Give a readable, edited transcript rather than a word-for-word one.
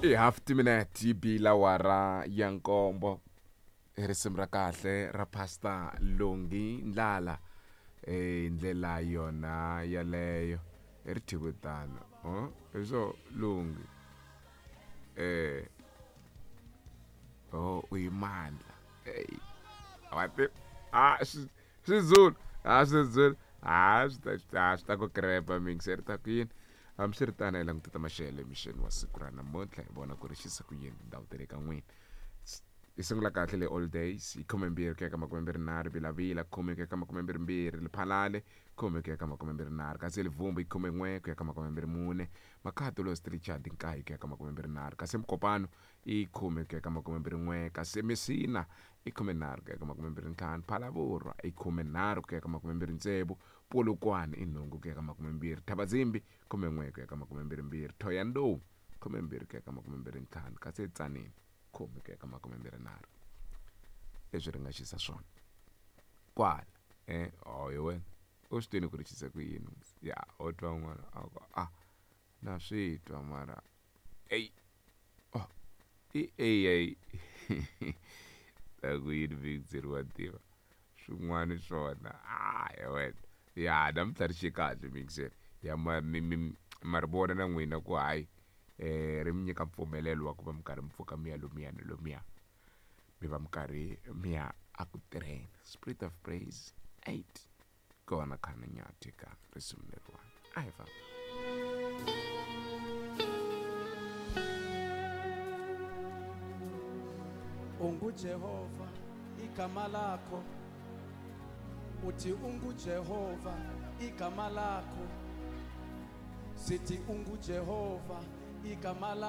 I half timinete yi bile awara ya nkombo i risimu ra kahle ra pastor Lungi Ndlala hi ndlela yona yaleyo i ri thyiwe tano hi swo Lungi eh oh u yi mandla ey wa ti a swi Swizulu a Swizulu a swi ta a swi ta ku krepa mixer ta ku yini hambiswiritano hi languta ta maxelo emixeni wa siku ra namuntlha hi vona ku ri xisa ku yini tindhawu ta le ka n'wina hi sungula kahle le all days hi khumembirhi ku ya ka makumembirhinharhu vilavila khume ku ya ka makumembirhimbirhi liphalale khume ku ya ka makumembirhinharhu kasi livumbu hi khumen'we ku ya ka makumembirhi-mune makhato los richard nkaye ku ya ka makumembirhinharhu kasi mukopano i khume ku ya ka makumembirhin'we kasi mesina i khumenharhu ku ya ka makumembirhi-ntlhanu phalavurwa i khumenharhu ku ya ka makumembirhi-tsevu Polokwane i nhungu ku ya ka makumembirhi Thabazimbi khumen'we ku ya ka makumembirhi-mbirhi Thohoyandou khumembirhi ku ya ka makumembirhi-ntlhanu kasi eTzaneen khume ku ya ka makumembirhi-nharhu leswi ri nga xisa swona kwala oh hi wena u swi twini ku ri xise ku yini ya u twa un'wana a ku a na swi twa mara eyi oh i AI ta ku yini Victory wa tiva swin'wana swona a ya wena ya namuntlha ri xe kahle mixer ya ma mi mi ma ri vona na n'wina ku hayi ri mi nyika mpfumelelo wa ku va mi karhi mi pfuka mi ya lomuya na lomuya mi va mi karhi mi ya a ku tirheni spirit of praise 8 kona khana nyathi ka risimu leriwani a hi famba UnguJehova igama lakho uthi unguJehova igama lakho sithi unguJehova igama lakho.